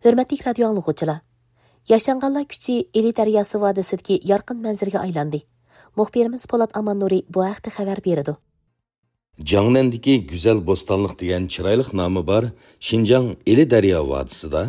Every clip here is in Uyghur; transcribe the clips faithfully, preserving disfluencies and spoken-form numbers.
ھۆرمەتلىك رادىيو ئاڭلىغۇچىلار! ياشانغانلار كۈچى ئىلى دەرياسى ۋادىسىدىكى يارقىن مەنزىرىگە ئايلاندى. مۇخبىرىمىز پولات ئاماننۇرى بۇ ھەقتە خەۋەر بېرىدۇ. جياڭنەندىكى گۈزەل بوستانلىق دېگەن چىرايلىق نامى بار شىنجاڭ ئىلى دەريا ۋادىسىدا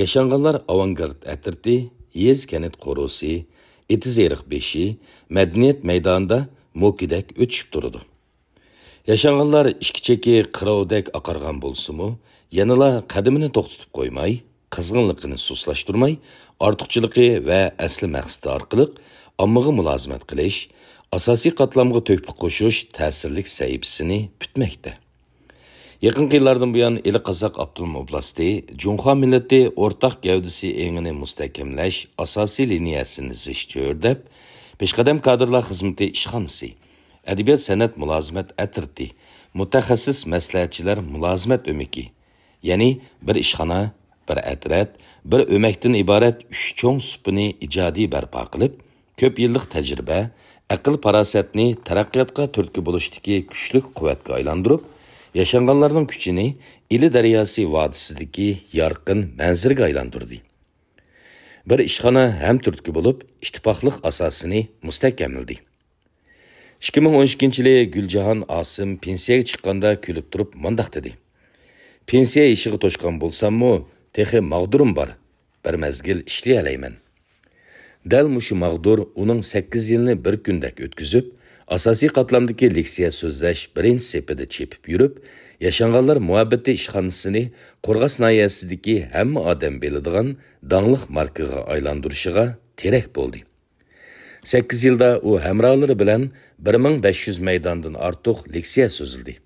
ياشانغانلار ئاۋانگارت ئەترىتى، يېزا كەنت قورۇسى، ئېتىز-ئېرىق بېشى، مەدەنىيەت مەيدانىدا موكىدەك ئۆتۈشۈپ تۇرىدۇ. ياشانغانلار ئىككى چېكى قىروۋدەك ئاقارغان بولسىمۇ، يەنىلا قەدىمىنى توختىتىپ قويماي، قىزغىنلىقىنى سۇسلاشتۇرماي، ئارتۇقچىلىقى ۋە ئەسلى مەقسىتى ئارقىلىق ئاممىغا مۇلازىمەت قىلىش، ئاساسىي قاتلامغا تۆھپە قوشۇش تەسىرلىك سەھىپىسىنى پۈتمەكتە. يېقىنقى يىللاردىن بۇيان، ئىلى قازاق ئاپتونوم ئوبلاستى جۇڭخۇا مىللىتى ئورتاق گەۋدىسى ئېڭىنى مۇستەھكەملەش ئاساسىي لىنىيەسىنى زىچ تۈردەپ، پېشقەدەم كادىرلار خىزمىتى ئىشخانىسى، ئەدەبىيات-سەنئەت مۇلازىمەت ئەترىتى، مۇتەخەسسىس مەسلىھەتچىلەر مۇلازىمەت ئۆمىكى، يەنى بىر ئىشخانا، بىر ئەترەت، بىر ئۆمەكتىن ئىبارەت ئۈچ چوڭ سۇپىنى ئىجادىي بەرپا قىلىپ، كۆپ يىللىق تەجرىبە، ئەقىل-پاراسەتنى تەرەققىياتقا تۈرتكە بولۇشتىكى كۈچلۈك قۇۋۋەتكە ئايلاندۇرۇپ، ياشانغانلارنىڭ كۈچىنى ئىلى دەرياسى ۋادىسىدىكى يارقىن مەنزىرىگە ئايلاندۇردى. بىر ئىشخانا ھەم تۈرتكە بولۇپ، ئىتتىپاقلىق ئاساسىنى مۇستەھكەملىدى. ئىككى مىڭ ئون ئىككىنچى يىلى گۈلجاھان ئاسىم پېنسىيەگە چىققاندا كۈلۈپ تۇرۇپ مۇنداق دېدى: «پېنسىيە يېشىغا توشقان بولساممۇ، تېخى ماغدۇرۇم بار، بىر مەزگىل ئىشلىيەلەيمەن.» دەل مۇشۇ ماغدۇر ئۇنىڭ سەككىز يىلنى بىر كۈندەك ئۆتكۈزۈپ، ئاساسىي قاتلامدىكى لېكسىيە سۆزلەش بىرىنچى سېپىدا چېپىپ يۈرۈپ، ياشانغانلار مۇھەببىتى ئىشخانىسىنى قورغاس ناھىيەسىدىكى ھەممە ئادەم بىلىدىغان داڭلىق ماركىغا ئايلاندۇرۇشىغا تىرەك بولدى. سەككىز يىلدا ئۇ ھەمراھلىرى بىلەن بىر مىڭ بەش يۈز مەيداندىن ئارتۇق لېكسىيە سۆزلىدى.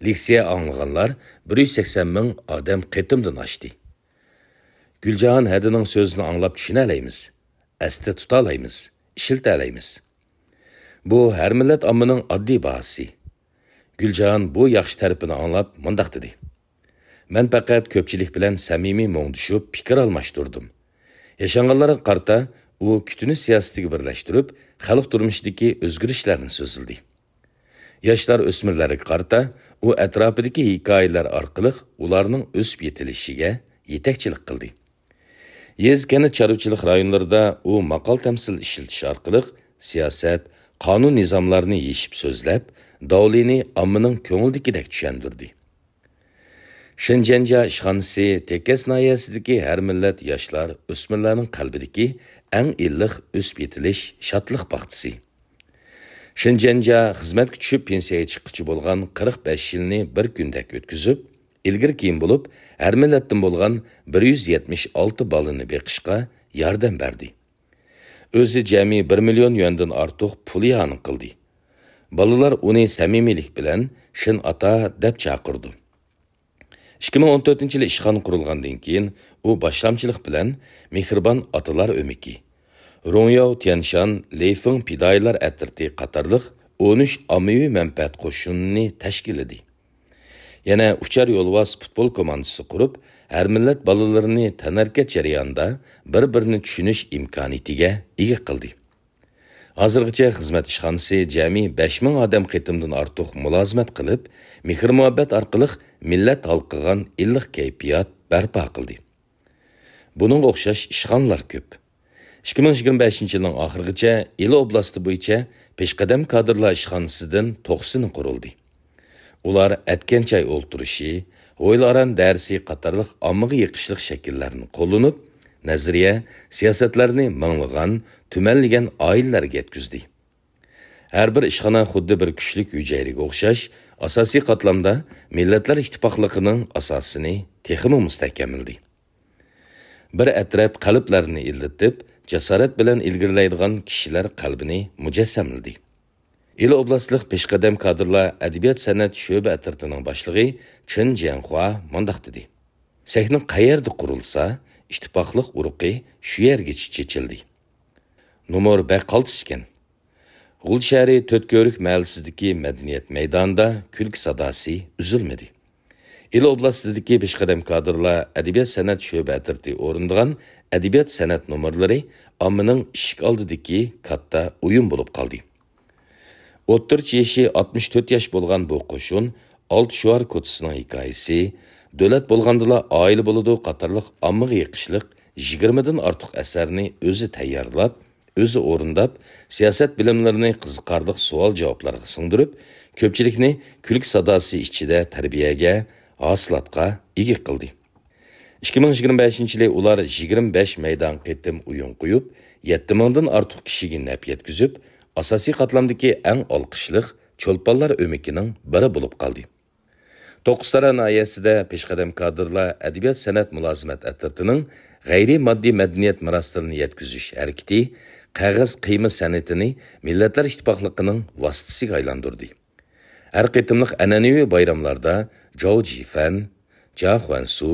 لېكسىيە ئاڭلىغانلار بىر يۈز سەكسەن مىڭ ئادەم قېتىمدىن ئاشتى. گۈلجاھان ھەدىنىڭ سۆزىنى ئاڭلاپ چۈشىنەلەيمىز، ئەستە تۇتالايمىز، ئىشلىتەلەيمىز. بۇ ھەر مىللەت ئاممىنىڭ ئاددىي باھاسى. گۈلجاھان بۇ ياخشى تەرىپىنى ئاڭلاپ مۇنداق دېدى: «مەن پەقەت كۆپچىلىك بىلەن سەمىمىي مۇڭدىشىپ پىكىر ئالماشتۇردۇم.» ياشانغانلارغا قارىتا ئۇ كۈتۈنۈش سىياسىتىگە بىرلەشتۈرۈپ، خەلق تۇرمۇشىدىكى ئۆزگىرىشلەرنى سۆزلىدى. ياشلار، ئۆسمۈرلەرگە قارىتا ئۇ ئەتراپىدىكى ھېكايىلەر ئارقىلىق ئۇلارنىڭ ئۆسۈپ يېتىلىشىگە يېتەكچىلىك قىلدى. يېزا، كەنت، چارۋىچىلىق رايونلىرىدا ئۇ ماقال-تەمسىل ئىشلىتىش ئارقىلىق سىياسەت، قانۇن-نىزاملارنى يېشىپ سۆزلەپ، داۋلىنى ئاممىنىڭ كۆڭلىدىكىدەك چۈشەندۈردى. شېنجيەنجيا ئىشخانىسى تېكەس ناھىيەسىدىكى ھەر مىللەت ياشلار، ئۆسمۈرلەرنىڭ قەلبىدىكى ئەڭ ئىللىق ئۆسۈپ يېتىلىش، شادلىق باغچىسى. شېنجيەنجيا خىزمەتكە چۈشۈپ پېنسىيەگە چىققىچە بولغان قىرىق بەش يىلنى بىر كۈندەك ئۆتكۈزۈپ، ئىلگىرى-كېيىن بولۇپ ھەر مىللەتتىن بولغان بىر يۈز يەتمىش ئالتە بالىنى بېقىشقا ياردەم بەردى. ئۆزى جەمئىي بىر مىليون يۈەندىن ئارتۇق پۇل ئىئانە قىلدى. بالىلار ئۇنى سەمىمىيلىك بىلەن شېن ئاتا دەپ چاقىرىدۇ. ئىككى مىڭ ئون تۆتىنچى يىلى ئىشخانا قۇرۇلغاندىن كېيىن، ئۇ باشلامچىلىق بىلەن مېھرىبان ئاتىلار ئۆمىكى، رۇڭياۋ تيەنشان، لېيفېڭ پىدائىيلار ئەترىتى قاتارلىق ئون ئۈچ ئاممىۋى مەنپەئەت قوشۇنىنى تەشكىللىدى. يەنە ئۇچار يولۋاس پۇتبول كوماندىسى قۇرۇپ، ھەر مىللەت بالىلىرىنى تەنھەرىكەت جەريانىدا بىر-بىرىنى چۈشىنىش ئىمكانىيىتىگە ئىگە قىلدى. ھازىرغىچە خىزمەت ئىشخانىسى جەمئىي بەش مىڭ ئادەم قېتىمدىن ئارتۇق مۇلازىمەت قىلىپ، مېھىر-مۇھەببەت ئارقىلىق مىللەت ھالقىغان ئىللىق كەيپىيات بەرپا قىلدى. بۇنىڭغا ئوخشاش ئىشخانىلار كۆپ. ئىككى مىڭ يىگىرمە بەشىنچى يىلنىڭ ئاخىرىغىچە ئىلى ئوبلاستى بويىچە پېشقەدەم كادىرلار ئىشخانىسىدىن توقسىنى قۇرۇلدى. ئۇلار ئەتكەن چاي ئولتۇرۇشى، ھويلا ئاران دەرسى قاتارلىق ئاممىغا يېقىشلىق شەكىللەرنى قوللىنىپ، نەزەرىيە، سىياسەتلەرنى مىڭلىغان، تۈمەنلىگەن ئائىلىلەرگە يەتكۈزدى. ھەر بىر ئىشخانا خۇددى بىر كۈچلۈك ھۈجەيرىگە ئوخشاش، ئاساسىي قاتلامدا مىللەتلەر ئىتتىپاقلىقىنىڭ ئاساسىنى تېخىمۇ مۇستەھكەملىدى. بىر ئەترەت قەلبلەرنى ئىللىتىپ، جاسارەت بىلەن ئىلگىرىلەيدىغان كىشىلەر قەلبىنى مۇجەسسەملىدى. ئىلى ئوبلاستلىق پېشقەدەم كادىرلار ئەدەبىيات-سەنئەت شۆبە ئەترىتىنىڭ باشلىقى چېن جيەنخۇا مۇنداق دېدى: «سەھنە قەيەردە قۇرۇلسا، ئىتتىپاقلىق ئۇرۇقى شۇ يەرگىچە چېچىلدى.» نومۇر بەك قالتىس ئىكەن. غۇلجا شەھىرى تۆت كۆۋرۈك مەھەللىسىدىكى مەدەنىيەت مەيدانىدا كۈلكە ساداسى ئۈزۈلمىدى. ئىلى ئوبلاستىدىكى پېشقەدەم كادىرلار ئەدەبىيات-سەنئەت شۆبە ئەترىتى ئورۇندىغان ئەدەبىيات-سەنئەت نومۇرلىرى ئاممىنىڭ ئىشىك ئالدىدىكى كاتتا ئويۇن بولۇپ قالدى. ئوتتۇرىچە يېشى ئاتمىش تۆت ياش بولغان بۇ قوشۇن ئالتە شوئار كوتىسىنىڭ ھېكايىسى، دۆلەت بولغاندىلا ئائىلە بولىدۇ قاتارلىق ئاممىغا يېقىشلىق يىگىرمىدىن ئارتۇق ئەسەرنى ئۆزى تەييارلاپ، ئۆزى ئورۇنداپ، سىياسەت بىلىملىرىنى قىزىقارلىق سوئال-جاۋابلارغا سىڭدۈرۈپ، كۆپچىلىكنى كۈلكە ساداسى ئىچىدە تەربىيەگە، ھاسىلاتقا ئىگە قىلدى. ئىككى مىڭ يىگىرمە بەشىنچى يىلى ئۇلار يىگىرمە بەش مەيدان قېتىم ئويۇن قويۇپ، يەتتە مىڭدىن ئارتۇق كىشىگە نەپ يەتكۈزۈپ، ئاساسىي قاتلامدىكى ئەڭ ئالقىشلىق چولپانلار ئۆمىكىنىڭ بىرى بولۇپ قالدى. توققۇزتارا ناھىيەسىدە پېشقەدەم كادىرلار ئەدەبىيات-سەنئەت مۇلازىمەت ئەترىتىنىڭ غەيرىي ماددىي مەدەنىيەت مىراسلىرىنى يەتكۈزۈش ھەرىكىتى قەغەز قىيما سەنئىتىنى مىللەتلەر ئىتتىپاقلىقىنىڭ ۋاسىتىسىگە ئايلاندۇردى. ھەر قېتىملىق ئەنئەنىۋى بايراملاردا جاۋ جىفەن، جا خۇەنسۇ،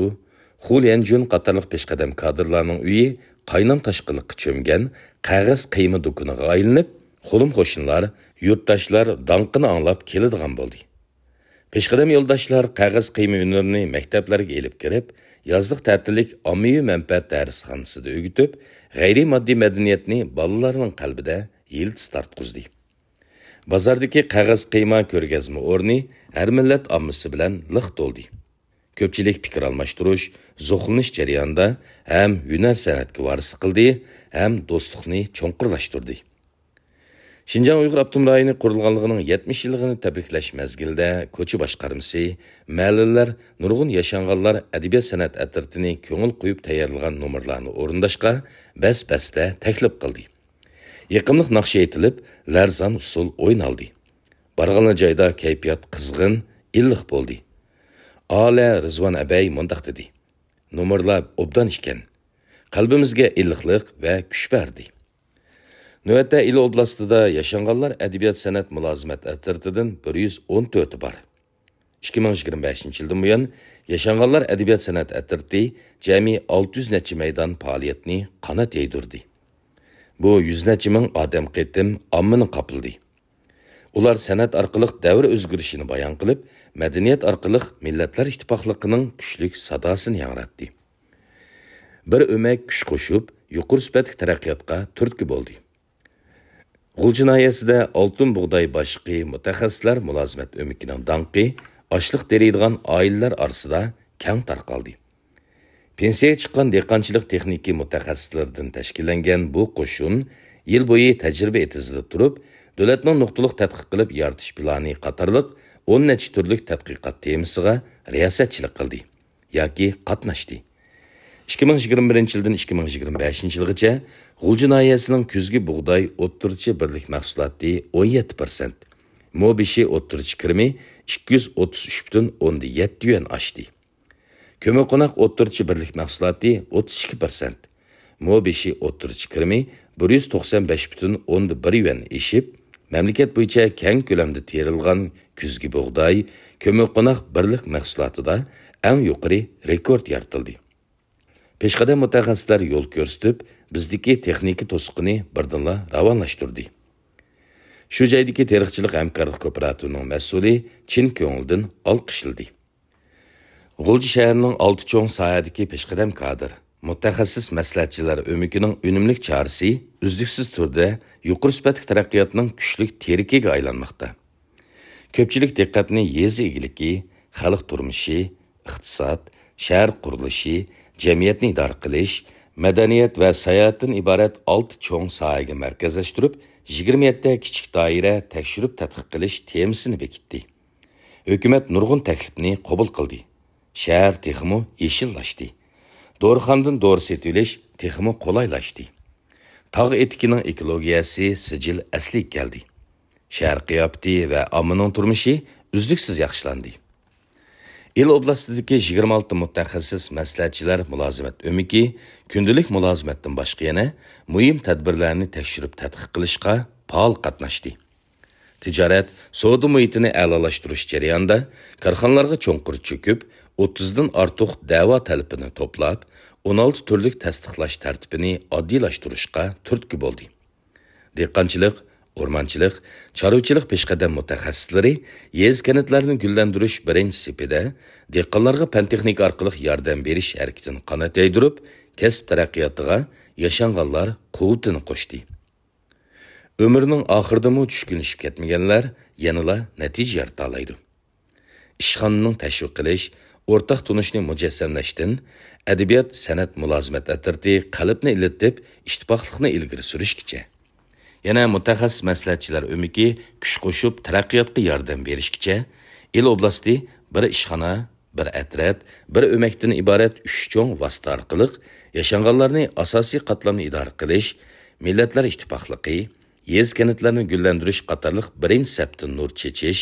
خۇ ليەنجۈن قاتارلىق پېشقەدەم كادىرلارنىڭ ئۆيى قاينام-تاشقىنلىققا چۆمگەن قەغەز قىيما دۇكىنىغا ئايلىنىپ، قولۇم-قوشنىلار، يۇرتداشلار داڭقىنى ئاڭلاپ كېلىدىغان بولدى. پېشقەدەم يولداشلار قەغەز قىيما ھۈنىرىنى مەكتەپلەرگە ئېلىپ كىرىپ، يازلىق تەتىللىك ئاممىۋى مەنپەئەت دەرسخانىسىدا ئۆگىتىپ، غەيرىي ماددىي مەدەنىيەتنى بالىلارنىڭ قەلبىدە يىلتىز تارتقۇزدى. بازاردىكى قەغەز قىيما كۆرگەزمە ئورنى ھەر مىللەت ئاممىسى بىلەن لىق تولدى. كۆپچىلىك پىكىر ئالماشتۇرۇش، زوقلىنىش جەريانىدا ھەم ھۈنەر-سەنئەتكە ۋارىسلىق قىلدى ھەم دوستلۇقنى چوڭقۇرلاشتۇردى. شىنجاڭ ئۇيغۇر ئاپتونوم رايونى قۇرۇلغانلىقىنىڭ يەتمىش يىللىقىنى تەبرىكلەش مەزگىلىدە كوچا باشقارمىسى، مەھەللىلەر، نۇرغۇن ياشانغانلار ئەدەبىيات-سەنئەت ئەترىتىنى كۆڭۈل قويۇپ تەييارلىغان نومۇرلارنى ئورۇنداشقا بەس-بەستە تەكلىپ قىلدى. يېقىملىق ناخشا ئېيتىلىپ، لەرزان ئۇسسۇل ئوينالدى. بارغانلا جايدا كەيپىيات قىزغىن، ئىللىق بولدى. ئالە رىزۋان ئەبەي مۇنداق دېدى: «نومۇرلار ئوبدان ئىكەن. قەلبىمىزگە ئىللىقلىق ۋە كۈچ بەردى.» نۆۋەتتە ئىلى ئوبلاستىدا ياشانغانلار ئەدەبىيات-سەنئەت مۇلازىمەت ئەترىتىدىن بىر يۈز ئون تۆتى بار. ئىككى مىڭ يىگىرمە بەشىنچى يىلدىن بۇيان، ياشانغانلار ئەدەبىيات-سەنئەت ئەترىتى جەمئىي ئالتە يۈز نەچچە مەيدان پائالىيەتنى قانات يايدۇردى. بۇ يۈز نەچچە مىڭ ئادەم قېتىم ئاممىنى قاپلىدى. ئۇلار سەنئەت ئارقىلىق دەۋر ئۆزگىرىشىنى بايان قىلىپ، مەدەنىيەت ئارقىلىق مىللەتلەر ئىتتىپاقلىقىنىڭ كۈچلۈك ساداسىنى ياڭراتتى. بىر ئۆمەك كۈچ قوشۇپ، يۇقىرى سۈپەتلىك تەرەققىياتقا تۈرتكە بولدى. غۇلجا ناھىيەسىدە ئالتۇن بۇغداي باشلىقى مۇتەخەسسىسلەر مۇلازىمەت ئۆمىكىنىڭ داڭقى ئاشلىق تېرىيدىغان ئائىلىلەر ئارىسىدا كەڭ تارقالدى. پېنسىيەگە چىققان دېھقانچىلىق تېخنىكا مۇتەخەسسىسلىرىدىن تەشكىللەنگەن بۇ قوشۇن يىل بويى تەجرىبە ئېتىزىدا تۇرۇپ، دۆلەتنىڭ نۇقتىلىق تەتقىق قىلىپ يارىتىش پىلانى قاتارلىق ئون نەچچە تۈرلۈك تەتقىقات تېمىسىغا رىياسەتچىلىك قىلدى ياكى قاتناشتى. ئىككى مىڭ يىگىرمە بىرىنچى يىلدىن ئىككى مىڭ يىگىرمە بەشىنچى يىلغىچە غۇلجا ناھىيەسىنىڭ كۈزگى بۇغداي ئوتتۇرىچە بىرلىك مەھسۇلاتى ئون يەتتە پىرسەنت، مو بېشى ئوتتۇرىچە كىرىمى ئىككى يۈز ئوتتۇز ئۈچ پۈتۈن ئوندىن يەتتە يۈەن ئاشتى. كۆمۈرقوناق ئوتتۇرىچە بىرلىك مەھسۇلاتى ئوتتۇز ئىككى پىرسەنت، مو بېشى ئوتتۇرىچە كىرىمى بىر يۈز توقسان بەش پۈتۈن ئوندىن بىر يۈەن ئېشىپ، مەملىكەت بويىچە كەڭ كۆلەمدە تېرىلغان كۈزگى بۇغداي، كۆمۈرقوناق بىرلىك مەھسۇلاتىدا ئەڭ يۇقىرى رېكورت يارىتىلدى. پېشقەدەم مۇتەخەسسىسلەر يول كۆرسىتىپ، بىزدىكى تېخنىكا توسۇقىنى بىردىنلا راۋانلاشتۇردى. شۇ جايدىكى تېرىقچىلىق ھەمكارلىق كوپىراتىپىنىڭ مەسئۇلى چىن كۆڭۈلدىن ئالقىشلىدى. غۇلجا شەھىرىنىڭ ئالتە چوڭ ساھەدىكى پېشقەدەم كادىر، مۇتەخەسسىس مەسلىھەتچىلەر ئۆمىكىنىڭ ئۈنۈملۈك چارىسى ئۈزلۈكسىز تۈردە يۇقىرى سۈپەتلىك تەرەققىياتنىڭ كۈچلۈك تىرىكىگە ئايلانماقتا. كۆپچىلىك دىققەتنى يېزا ئىگىلىكى، خەلق تۇرمۇشى، ئىقتىساد، شەھەر قۇرۇلۇشى، جەمئىيەتنى ئىدارە قىلىش، مەدەنىيەت ۋە ساياھەتتىن ئىبارەت ئالتە چوڭ ساھەگە مەركەزلەشتۈرۈپ، يىگىرمە يەتتە كىچىك دائىرە تەكشۈرۈپ تەتقىق قىلىش تېمىسىنى بېكىتتى. ھۆكۈمەت نۇرغۇن تەكلىپنى قوبۇل قىلدى. شەھەر تېخىمۇ يېشىللاشتى. دورىخانىدىن دورا سېتىۋېلىش تېخىمۇ قولايلاشتى. تاغ ئېتىكىنىڭ ئېكولوگىيەسى سىجىل ئەسلىگە كەلدى. شەھەر قىياپىتى ۋە ئاممىنىڭ تۇرمۇشى ئۈزلۈكسىز ياخشىلاندى. ئىلى ئوبلاستىدىكى يىگىرمە ئالتە مۇتەخەسسىس مەسلىھەتچىلەر مۇلازىمەت ئۆمىكى كۈندىلىك مۇلازىمەتتىن باشقا يەنە مۇھىم تەدبىرلەرنى تەكشۈرۈپ تەتقىق قىلىشقا پائال قاتناشتى. تىجارەت، سودا مۇھىتىنى ئەلالاشتۇرۇش جەريانىدا كارخانىلارغا چوڭقۇر چۆكۈپ، ئوتتۇزدىن ئارتۇق دەۋا تەلىپىنى توپلاپ، ئون ئالتە تۈرلۈك تەستىقلاش تەرتىپىنى ئاددىيلاشتۇرۇشقا تۈرتكە بولدى. دېھقانچىلىق، ئورمانچىلىق، چارۋىچىلىق پېشقەدەم مۇتەخەسسىسلىرى يېزا-كەنتلەرنى گۈللەندۈرۈش بىرىنچى سېپىدە دېھقانلارغا پەن-تېخنىكا ئارقىلىق ياردەم بېرىش ھەرىكىتىنى قانات يايدۇرۇپ، كەسىپ تەرەققىياتىغا ياشانغانلار قۇۋۋىتىنى قوشتى. ئۆمرىنىڭ ئاخىرىدىمۇ چۈشكۈنلىشىپ كەتمىگەنلەر يەنىلا نەتىجە يارىتالايدۇ. ئىشخانىنىڭ تەشۋىق قىلىش، ئورتاق تونۇشنى مۇجەسسەملەشتىن، ئەدەبىيات، سەنئەت، مۇلازىمەت ئەترىتى قەلبنى ئىللىتىپ، ئىتتىپاقلىقنى ئىلگىرى سۈرۈشكىچە. يەنە مۇتەخەسسىس مەسلىھەتچىلەر ئۆمىكى كۈچ قوشۇپ، تەرەققىياتقا ياردەم بېرىشكىچە، ئىل ئوبلاستى بىر ئىشخانا، بىر ئەترەت، بىر ئۆمەكتىن ئىبارەت ئۈچ چوڭ ۋاسىتە ئارقىلىق ياشانغانلارنى ئاساسىي قاتلامنى ئىدارە قىلىش، مىللەتلەر ئىتتىپاقلىقى، يېزا-كەنتلەرنى گۈللەندۈرۈش قاتارلىق بىرىنچى سەپتىن نۇر چېچىش،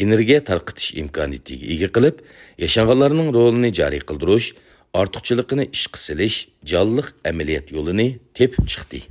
ئېنېرگىيە تارقىتىش ئىمكانىيىتىگە ئىگە قىلىپ، ياشانغانلارنىڭ رولىنى جارى قىلدۇرۇش، ئارتۇقچىلىقىنى ئىشقا سېلىش جانلىق ئەمەلىيەت يولىنى تېپىپ چىقتى.